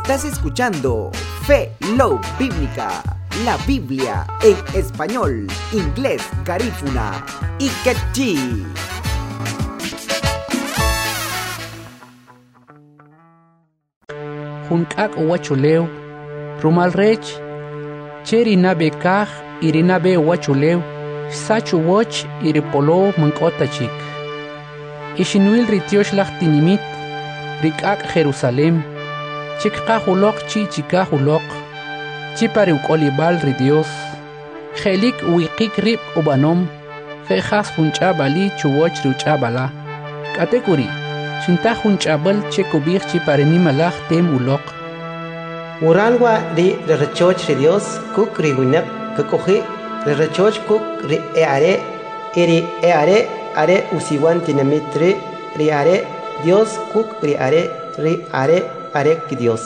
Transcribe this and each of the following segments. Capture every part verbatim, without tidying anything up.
Estás escuchando Fe Love Bíblica, la Biblia en español, inglés, garífuna y quechí. Jun k'ak' uwachulew, rumal rech, che ri nab'e kaj y ri nab'e uwachulew, xsach uwach y ri polow man k'o ta chik. Ixinwil ri tyoxlaj tinimit, ri k'ak' Jerusalem, che kqaj uloq chi chikaj uloq, chi pa ri uk'olib'al ri Dios. Je'lik uwiqik rib' ub'anom, je' jas jun ch'ab'ali chuwach ri uch'ab'ala. K'atek'uri', xintaj jun ch'ab'al che kub'ij chi pa ri nimalaj tem uloq. Waral wa' ri rachoch ri Dios kuk' ri winaq kak'oji' ri rachoch kuk' ri e are' y ri e are' are usiwan tinamit ri' ri are' Dios kuk' ri are' ri are' are ki Dios.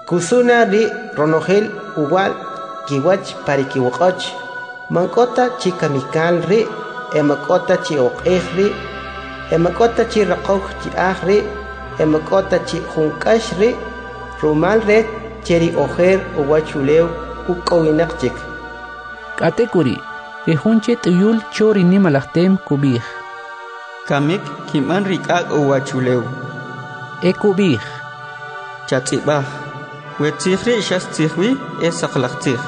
Kusuna ri ronojel uwa'l kiwach pa ri kiwoq'och. Man k'o ta chi kamikal ri', e man k'o ta chi oq'ej ri', e man k'o ta chi raqow chi'aj ri', e man k'o ta chi jun k'ax ri', rumal rech che ri ojer uwachulew uk'owinaq chik. K'atek'uri', ri jun che t'uyul cho ri nimalaj tem kub'ij: Kamik kinb'an ri k'ak' uwachulew. E kub'ij: Chatz'ib'aj, we tzij ri' xas tzij wi e saqlaj tzij.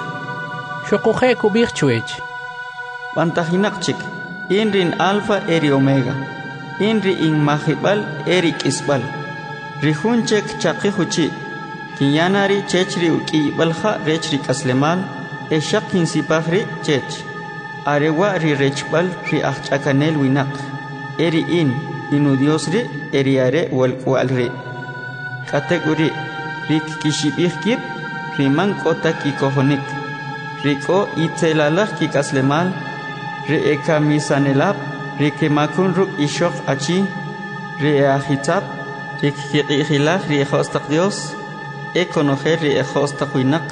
Xuquje' kub'ij chwech: B'antajinaq chik, in ri in Alfa e ri Omega, in ri in majib'al e ri k'isb'al. Ri jun che kchaqij uchi', kinya na ri' chech ri uk'iyib'al ja' rech ri k'aslemal, e xaq kinsipaj ri' chech. Are wa' ri rechb'al ri ajch'akanel winaq, e ri in, in uDios ri' e ri are' walk'wa'al ri'. K'atek'uri', ri kkixib'ij kib', ri man k'o ta kikojonik, ri k'o itzelalaj kik'aslemal, ri e kamisanelab', ri kemakun ruk' ixoq achi, ri e ajitzab', ri kkiq'ijilaj ri ejo's taq Dios, e konojel ri ejo's taq winaq,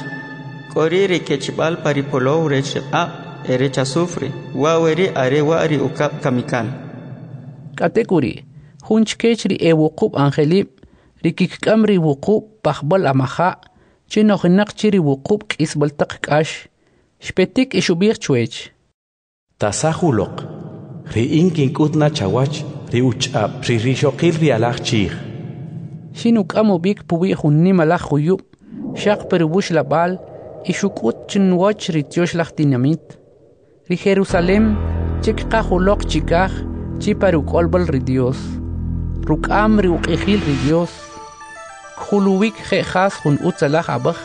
k'o ri' ri kechb'al pa ri polow rech ri q'aq' e rech azufre, wa' we ri' are wa' ri ukab' kamikal. K'atek'uri', jun chkech ri e wuqub' angelib', ri kikk'am ri wuqub' pajb'al amaja', che nojinaq che ri wuqub' k'isb'al taq k'ax, xpetik e xub'ij chwech: Tasaj uloq, ri in kink'ut na chawach ri uch'ab' ri rixoqil ri alaj chij. Xinuk'am ub'ik puwi' jun nimalaj juyub', xaq pa ri wuxlab'al, y xuk'ut chinwach ri tyoxlaj tinamit, ri Jerusalem, che kqaj uloq chikaj, chi pa ri uk'olb'al ri Dios. Ruk'am ri uq'ijil ri Dios, kjuluwik je' jas jun utzalaj ab'aj,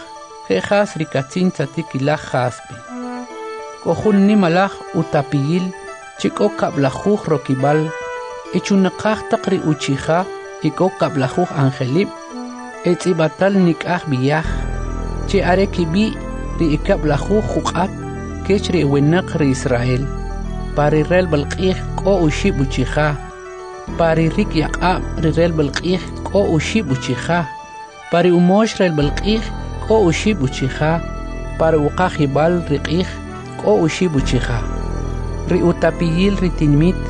je' jas ri katzin tzatikilaj jaspe. K'o jun nimalaj utapiyil che k'o kab'lajuj rokib'al, e chunaqaj taq ri uchija e k'o kab'lajuj angelib', e tz'ib'atal nik'aj b'iaj, che are kib'i' ri e kab'lajuj juq'at kech ri winaq ri Israel. Pa ri relb'al q'ij k'o oxib' uchija, pa ri rikyaq'ab' ri relb'al q'ij k'o oxib' uchija, pa ri umox relb'al q'ij k'o oxib' uchija, pa ri uqajib'al ri q'ij k'o oxib' uchija. Ri utapiyil ri tinimit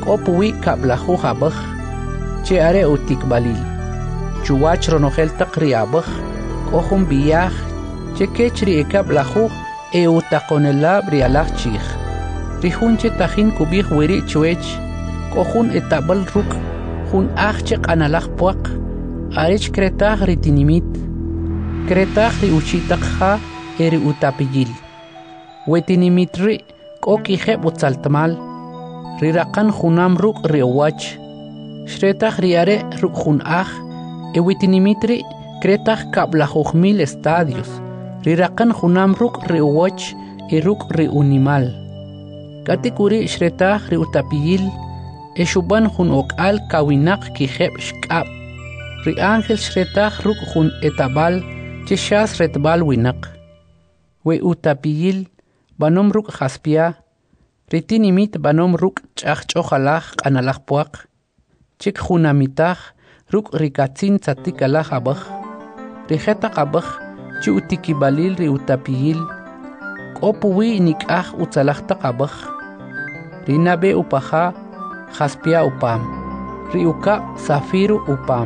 k'o puwi' kab'lajuj ab'aj, che are utikb'alil. Chuwach ronojel taq ri ab'aj k'o jun b'iaj che kech ri e kab'lajuj e utaqonelab' ri alaj chij. Ri jun che tajin kub'ij wiri' chwech, k'o jun etab'al ruk' jun aj che q'analaj puaq, arech kretaj ri tinimit, kretaj ri uchi' taq ja e ri utapiyil. We tinimit ri' k'o kijeb' utzaltmal, ri raqan junam ruk' ri uwach. Xretaj ri are' ruk' jun aj, e we tinimit ri' kretaj kab'lajuj mil estadios, ri raqan junam ruk' ri uwach e ruk' ri unimal. K'atek'uri' xretaj ri utapiyil e xub'an jun ok'al kawinaq kijeb' xk'ab'. Ri ángel xretaj ruk' jun etab'al che xas retb'al winaq. We utapiyil b'anom ruk' jaspia, ri tinimit b'anom ruk' ch'ajch'ojalaj q'analaj puaq, che kjunamitaj ruk' ri katzin tzatikalaj ab'aj. Ri jetaq ab'aj che utikib'alil ri utapiyil, k'o puwi' nik'aj utzalaj taq ab'aj. Ri nab'e upaja jaspia upam, ri ukab' zafiro upam.